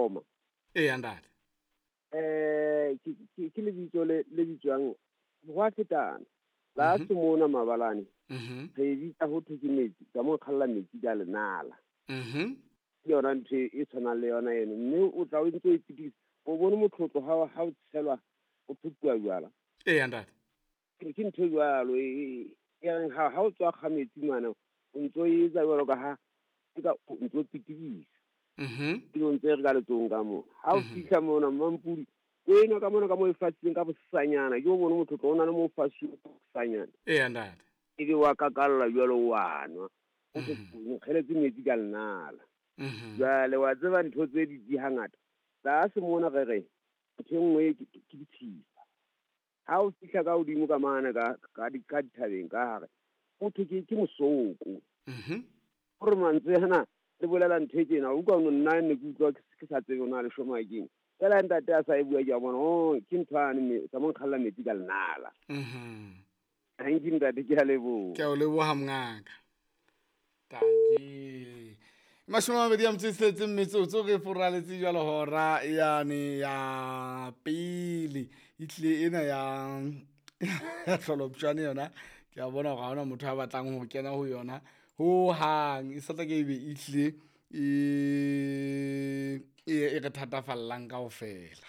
Soma. Eya ntate. Ke lebitso le bitswang ho a fetana. La se mona mabalane. Re e bitsa ho thwe ke metsi, ka mo kgalla metsi ka lenala. Ke yona ntho e tshwanang le yona eno, mme o tla o ntse o e pitikisa. O bone motlotlo ha o tshelwa, o phuthuwa jwala. Eya ntate. Ke ntho e jwalo e reng ha o tswa kga metsi mana, o ntso etsa jwalo ka ha eka o ntso pitikisa. Ebe o ntse re ka letsohong ka mona. Ha o fihla mona Mampudi, o enwa ka mona ka moo e fasitseng ka bosanyana. Ke o bone motlotlo o na le moo o fasuweng ka bosanyana. Eya ntate. Ebe wa kakalla jwalo wa nwa. O nkgeletse metsi ka lenala. Jwale wa tseba ntho tse di hangata. Tlase mona re re ntho e nngwe ke ditshisa. Ha o fihla ka hodimo ka mane ka dithabeng ka hare, ho thwe ke mosoko. Hore mantswe ana le bolela ntho e tjena, o utlwa nna ne ke utlwa ke sa tsebe hore na le shoma keng. Feela ntate a sa e bua ke a bona, oh, ke ntho yane tsa mo nkgalla metsi ka lenala. Thank you ntate, ke a leboha. Ke a o leboha mongaka. Tanki. 26 metsotso re foraletse jwalo hora yane ya pele. E tlile ena ya tlholopshwane yona. Ke a bona hore ha hona motho a batlang ho kena ho yona ho hang. E sa tla ke ebe e tlile e re thatafallang kaofela.